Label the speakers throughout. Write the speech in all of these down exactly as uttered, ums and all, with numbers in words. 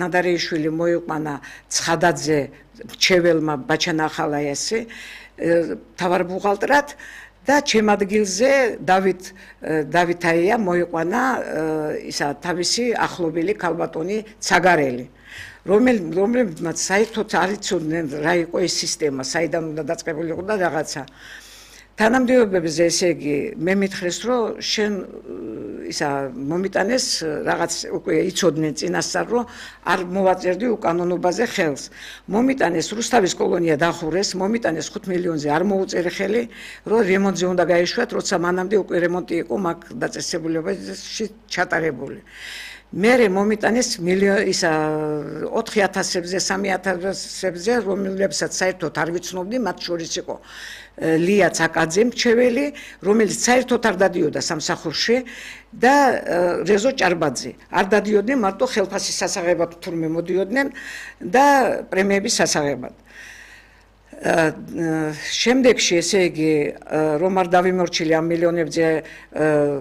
Speaker 1: ნადარეიშვილი მოიყვანა ცხადაძე მრჩეველმა ბაჩანახალაიასი მთავარ ბუღალტრად და ჩემ ადგილზე დავით დავითაია მოიყვანა ისა თავისი ახლობელი ქალბატონი ცაგარელი რომელმაც საერთოდ არ იცოდნენ რა იყო ეს სისტემა საიდან უნდა დაწყებული იყო და რაღაცა თანამდებობებზე ესე იგი მე მითხრეს რომ შენ ისა მომიტანეს რაღაც უკვე იცოდნენ წინასწარ რომ არ მოვაწერდი უკანონობაზე ხელს მომიტანეს რუსთავის კოლონია დახურეს მომიტანეს ხუთ მილიონზე არ მოუწერე ხელი რომ რემონტზე უნდა გაეშვათ როცა მანამდე უკვე რემონტი იყო მაგ დაწესებულებაში ჩატარებული მერე მომიტანეს მილიონი ისა ოთხი ათასებზე სამი ათასებზე რომლებსაც საერთოდ არ ვიცნობდი მათ შორის იყო ლია ცაკაძე მრჩეველი რომელიც საერთოდ არ დადიოდა სამსახურში და რეზო ჭარბაძე არ დადიოდნენ მარტო ხელფასის სასაღებად თურმე მოდიოდნენ და პრემიების სასაღებად შემდეგში ესე იგი რომ არ დავიმორჩილი ამ მილიონებზე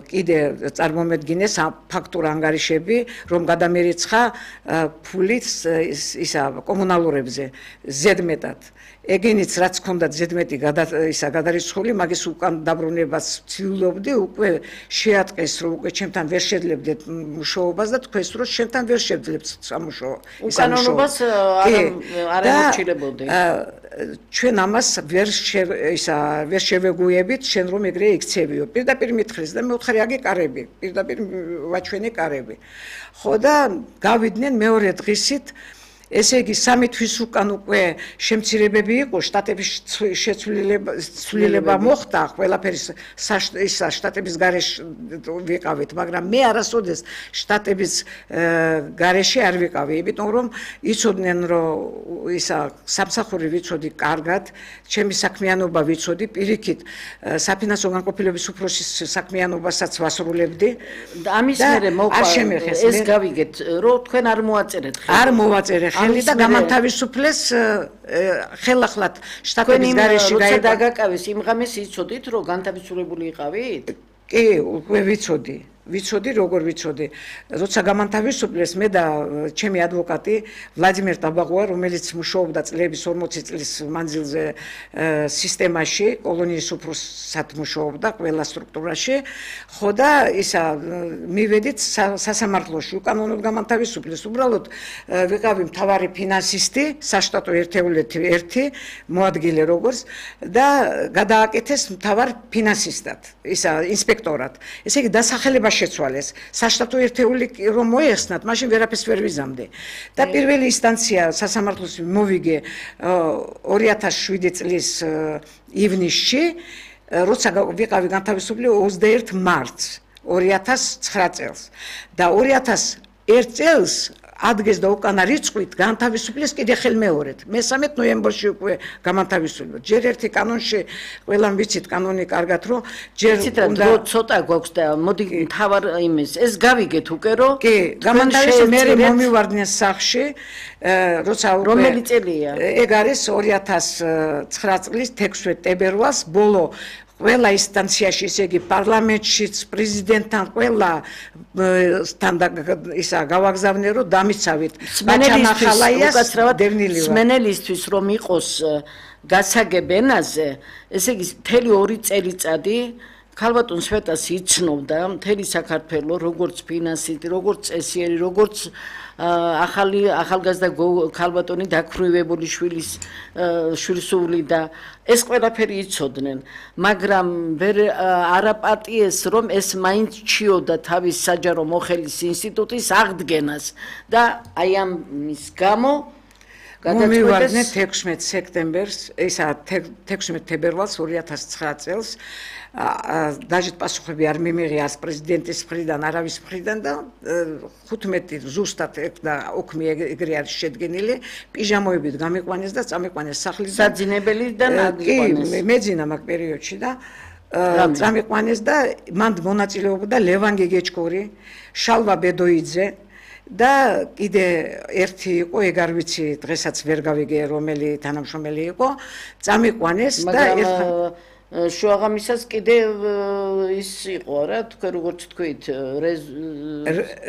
Speaker 1: კიდე წარმომედგინეს ფაქტურ ანგარიშები რომ გადამერიცხა ფულით ისა კომუნალურებზე ზედმეტად ეგენიც რაც ჰქონდათ ზედმეტი ისა გადარიცხული მაგის უკან დაბრუნებას ვცდილობდი უკვე შეატყეს რომ უკვე ჩემთან ვერ შეძლებდეთ მუშაობას და თქვეს რომ შენთან ვერ შევძლებთ სამუშაო
Speaker 2: უკანონობას არ ამორჩილებოდი
Speaker 1: ჩვენ ამას ვერ ისა ვერ შევეგუებით შენ რომ ეგრე იქცევიო პირდაპირ მითხრეს და მე ვთხარი აგეკარები პირდაპირ ვაჩვენე კარები ხო და გავიდნენ მეორე დღისით ესე იგი სამი თვის უკან უკვე შემცირებები იყო შტატების შეცვლილება მოხდა ყველაფერი ისა შტატების გარეშე ვიყავით მაგრამ მე არასოდეს შტატების გარეშე არ ვიყავი იმიტომ რომ იცოდნენ რომ ისა სამსახური ვიცოდი კარგად ჩემი საქმიანობა ვიცოდი პირიქით საფინანსო განყოფილების უფროსის საქმიანობასაც ვასრულებდი
Speaker 2: ამის მერე მოყვა ეს გავიგეთ რომ თქვენ არ მოაწერეთ ხელი
Speaker 1: არ მოვაწერე ხელი და გამანთავისუფლეს ხელახლად შტატების გარეშე
Speaker 2: გაიყო. დაგაკავეს იმ ღამეს იცოდით რომ განთავისუფლებული იყავით?
Speaker 1: კი, უკვე ვიცოდი. ვიცოდი როგორ ვიცოდი როცა გამანთავისუფლეს მე და ჩემი ადვოკატი ვლადიმერ ტაბაღოვა რომელიც მუშაობდა წლების ორმოცი წლის მანძილზე სისტემაში კოლონიის უფროსად მუშაობდა ყველა სტრუქტურაში ხო და ისა მივედით სასამართლოში უკანონოდ გამანთავისუფლეს უბრალოდ ვიყავი მთავარი ფინანსისტი საშტატო ერთეულეთი ერთი მოადგილე როგორც და გადააკეთეს მთავარ ფინანსისტად ისა ინსპექტორად ესე იგი დასახელება შეცვალეს საშტატო ერთეული რომ მოეხსნათ მაშინ ვერაფერს ვერ ვიზამდი და პირველი ინსტანცია სასამართლოს მოვიგე ორი ათას შვიდი წლის ივნისში როცა ვიყავი განთავისუფლებული ოცდაერთი მარტს ორი ათას ცხრა წელს და ორი ათას ერთ წელს ადგეს და უკანა რიცხვით განთავისუფლეს კიდე ხელმეორედ მესამე ნოემბერში უკვე გამანთავისუფლდა ჯერ ერთი კანონში ყველამ ვიცით კანონი კარგად რომ ჯერ
Speaker 2: უნდა ცოტა გვაქვს და მოდი თავარ იმის ეს გავიგეთ უკვე რომ
Speaker 1: კი გამანთავისუფლეს მე მომივარდნენ სახში როცა
Speaker 2: რომელი წელია
Speaker 1: ეგ არის ორი ათას ცხრა წლის თექვსმეტ თებერვალს ბოლო ყველა ინსტანციაში ისე იგი პარლამენტშიც პრეზიდენტთან ყველა თან ისა გავაგზავნე რომ დამიცავით
Speaker 2: ბაჩანახალაიას დევნილივად სმენელისთვის რომ იყოს გასაგებ ენაზე ესე იგი მთელი ორი წელიწადი ქალბატონ სვეტას იცნობდა მთელი საქართველო როგორც ფინანსისტი როგორც წესიერი როგორც ახალი ახალგაზრდა ქალბატონი დაქვრივებული შვილის შვილსული და ეს ყველაფერი იცოდნენ მაგრამ ვერ არაპატიეს რომ ეს მაინც ჩიოდა თავის საჯარო მოხელის ინსტიტუტის აღდგენას და აი ამის გამო
Speaker 1: მომივარდნენ თექვსმეტ სექტემბერს ისა თექვსმეტ თებერვალს ორი ათას ცხრა წელს დაჟეთ პასუხები არ მიმიღია არც პრეზიდენტის მხრიდან არავის მხრიდან და ხუთმეტი ზუსტად და ოქმი ეგრე არის შედგენილი პიჟამოებით გამიყვანეს და წამიყვანეს სახლიდან
Speaker 2: საძინებელიდან
Speaker 1: აღიყვანეს კი მეძინა მაგ პერიოდში და წამიყვანეს და მან მონაწილეობდა ლევან გეგეჭკორი შალვა ბედოიძე და კიდე ერთი იყო ეგ არ ვიცი დღესაც ვერ გავიგე რომელი თანამშრომელი იყო წამიყვანეს და
Speaker 2: ერთხელ შუაღამისას კიდე ის იყო რა თქვენ როგორც თქვით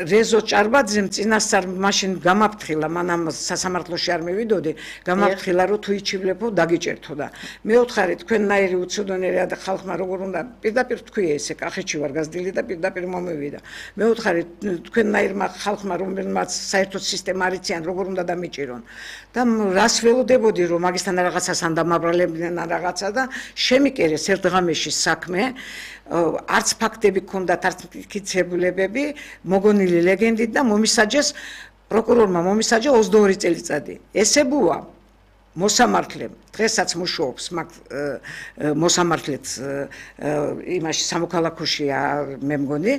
Speaker 1: რეზო ჭარბაძემ წინასწარ მაშინ გამაფრთხილა მანამ სასამართლოში არ მივიდოდი გამაფრთხილა რომ თუ იჩივლებო დაგიჭერთო და მეუთხარი თქვენნაირი უცოდნელი და ხალხმა როგორ უნდა პირდაპირ თქვია ესე კახეთში ვარ გაზრდილი და პირდაპირ მომევიდა მეუთხარი თქვენნაირმა ხალხმა რომელმაც საერთოდ სისტემა არიციან როგორ უნდა დამიჭირონ და რას ველოდებოდი რომ მაგისთან რაღაცას ანდამაბრალებდნენ რაღაცა და შემიკერე ერთ ღამეში საქმე არც ფაქტები ქონდათ არც მტკიცებულებები მოგონილი ლეგენდით და მომისაჯეს პროკურორმა მომისაჯა ოცდაორი წელიწადი ესე ბუა მოსამართლემ დღესაც მუშაობს მაგ მოსამართლეც იმაში სამოქალაქოშია მე მგონი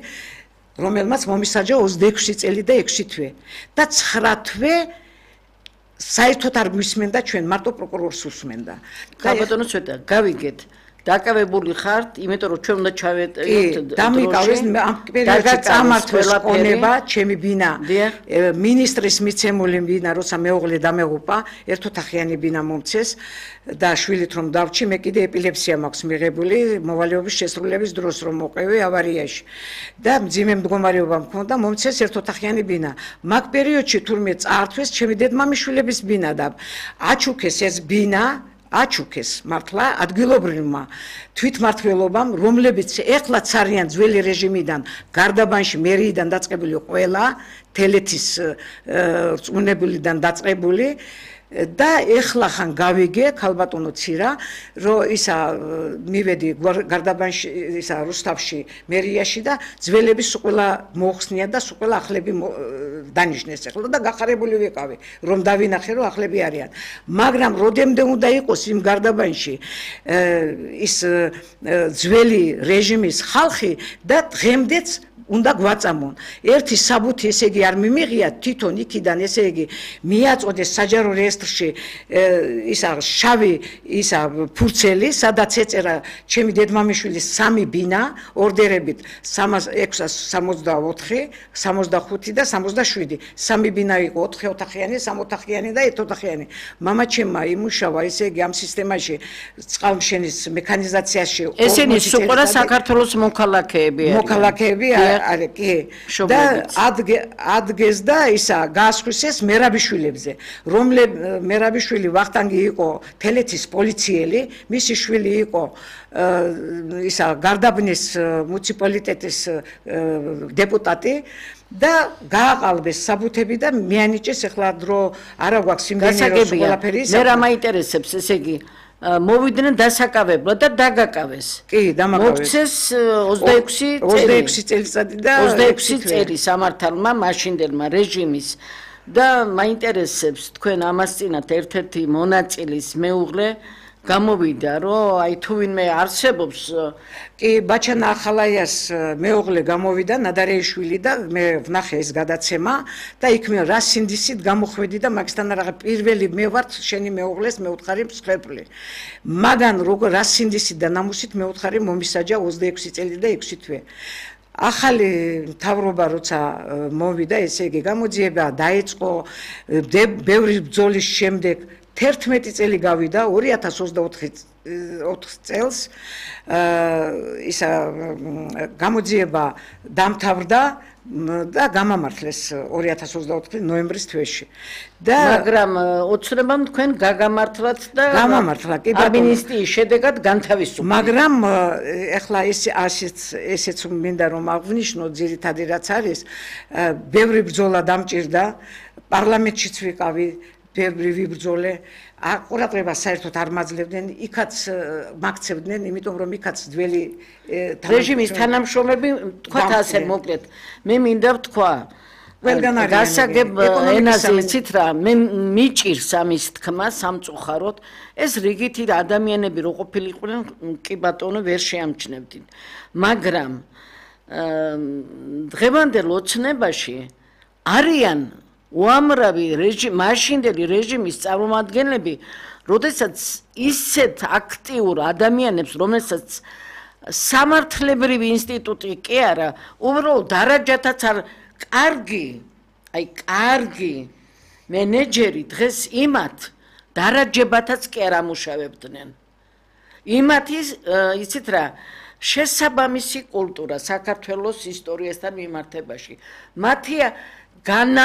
Speaker 1: რომელმაც მომისაჯა ოცდაექვსი წელი და ექვსი თვე და ცხრა თვე საერთოდ არ გვისმენდა ჩვენ მარტო პროკურორს უსმენდა
Speaker 2: ბატონო ცოტა გავიგეთ დაკავებული ხართ, იმიტომ რომ ჩვენ უნდა ჩავეტევით
Speaker 1: დამიკავეს ამ პერიოდში წამართვეს ყონება, ჩემი ბინა მინისტრის მიცემული ბინა, როცა მეუღლე დამეღუპა, ერთოთახიანი ბინა მომცეს და შვილით რომ დავჭი, მე კიდე ეპილეფსია მაქვს მიღებული, მოვალეობის შესრულების დროს რომ მოყევი ავარიაში და მძიმე მდგომარეობა მქონდა, მომცეს ერთოთახიანი ბინა. მაგ პერიოდში თურმე წაართვეს ჩემი დედმამიშვილების ბინა და აჩუქეს ეს ბინა აჩუქეს მართლა ადგილობრივმა თვითმმართველობამ, რომლებიც ეხლაც არიან ძველი რეჟიმიდან, გარდაბანში მერიიდან დაწყებული ყველა, თელეთის რწმუნებულიდან დაწყებული და ეხლა ხან გავიგე ქალბატონო ცირა, რომ ისა მივედი გარდაბანში, ისა რუსთავში, მერიაში და ძველების ყველა მოხსნია და ყველა ახლები დანიშნეს ეხლა და გახარებული ვიყავი, რომ დავინახე, რომ ახლები არიან. მაგრამ როდემდე უნდა იყოს იმ გარდაბანში ის ძველი რეჟიმის ხალხი და დღემდეც უნდა გვაწამონ. ერთი საბუთი ესე იგი არ მიმიღია თვითონ იქიდან ესე იგი მიაწოდეს საჯარო რეესტრში ისა შავი ისა ფურცელი, სადაც ეწერა ჩემი დედმამიშვილის სამი ბინა ორდერებით ექვსას სამოცდაოთხი, სამოცდახუთი და სამოცდაშვიდი. სამი ბინა იყო ოთხი ოთახიანი, სამოთახიანი და ერთოთახიანი. მამა ჩემმა იმუშავა ესე იგი ამ სისტემაში წყალმშენის მექანიზაციაში.
Speaker 2: ესენი სულ საქართველოს მოქალაქეები არიან.
Speaker 1: მოქალაქეები are კი და ადგეს და ისა გაასხვისეს მერაბიშვილებზე რომლე მერაბიშვილი ვახტანგი იყო თელეთის პოლიციელი მისი შვილი იყო ისა გარდაბნის მუნიციპალიტეტის დეპუტატი და გააყალბეს საბუთები და მიანიჭეს ახლა დრო არა გვაქვს იმდენი რომ ყველაფერი
Speaker 2: მე რა მაინტერესებს ესე იგი მოვიდნენ დასაკავებლად და დაგაკავეს.
Speaker 1: კი, დამაკავეს.
Speaker 2: მოგცეს ოცდაექვსი წელი.
Speaker 1: ოცდაექვსი წელიწადი და
Speaker 2: ოცდაექვსი წელი სამართალმა მაშინდელმა რეჟიმის და მაინტერესებს თქვენ ამასწინათ ერთ-ერთი მონაწილის მეუღლე გამოვიდა რომ აი თუ ვინმე არსებობს
Speaker 1: კი ბაჩანა ახალაიას მეუღლე გამოვიდა ნადარეიშვილი და მე ვნახე ეს გადაცემა და იქ მე რა სინდისით გამოხვედი და მაგისთან რაღაც პირველი მე ვარ შენი მეუღლეს მეუთხარი მსხვერპლი მაგან როგორ რა სინდისით და ნამუსით მეუთხარი მომისაჯა ოცდაექვსი წელი და ექვსი თვე ახალი მთავრობა როცა მოვიდა ესე იგი გამოძიება დაიწყო ბევრი ბრძოლის შემდეგ თერთმეტი წელი გავიდა ორი ათას ოცდაოთხი წელს ისა გამოძიება დამთავრდა და გამამართლეს ორი ათას ოცდაოთხი ნოემბრის თვეში და
Speaker 2: მაგრამ ოცნებამ თქვენ გაგამართლათ და
Speaker 1: გამამართლა კი
Speaker 2: ამინისტიის შედეგად განთავისუფლდა
Speaker 1: მაგრამ ეხლა ეს ასეც ესეც მინდა რომ აღვნიშნო ძირითადი რაც არის ბევრი ბრძოლა დამჭირდა პარლამენტშიც ვიყავი ბევრი ვიბრძოლე ყურადღება საერთოდ არ მაძლევდნენ იქაც მაქცევდნენ იმიტომ რომ იქაც ძველი
Speaker 2: რეჟიმის თანამშრომლები თქვათ ასე მოკლედ მე მინდა ვთქვა
Speaker 1: ყველგან არის
Speaker 2: გასაგებ ენაზე იცით რა მე მიჭირს ამის თქმა სამწუხაროდ ეს რიგითი ადამიანები რო ყოფილიყვნენ კი ბატონო ვერ შეამჩნევდით მაგრამ დღევანდელ ოცნებაში არიან უამრავი რეჟიმ მაშინდელი რეჟიმის წარმომადგენლები, როდესაც ისეთ აქტიურ ადამიანებს, რომელსაც სამართლებრივი ინსტიტუტი კი არა, უბრალოდ დარაჯათაც არ კარგი, აი კარგი მენეჯერი დღეს იმათ დარაჯებათაც კი არ ამუშავებდნენ. იმათი იცით რა შესაბამისი კულტურა საქართველოს ისტორიასთან მიმართებაში მათი განა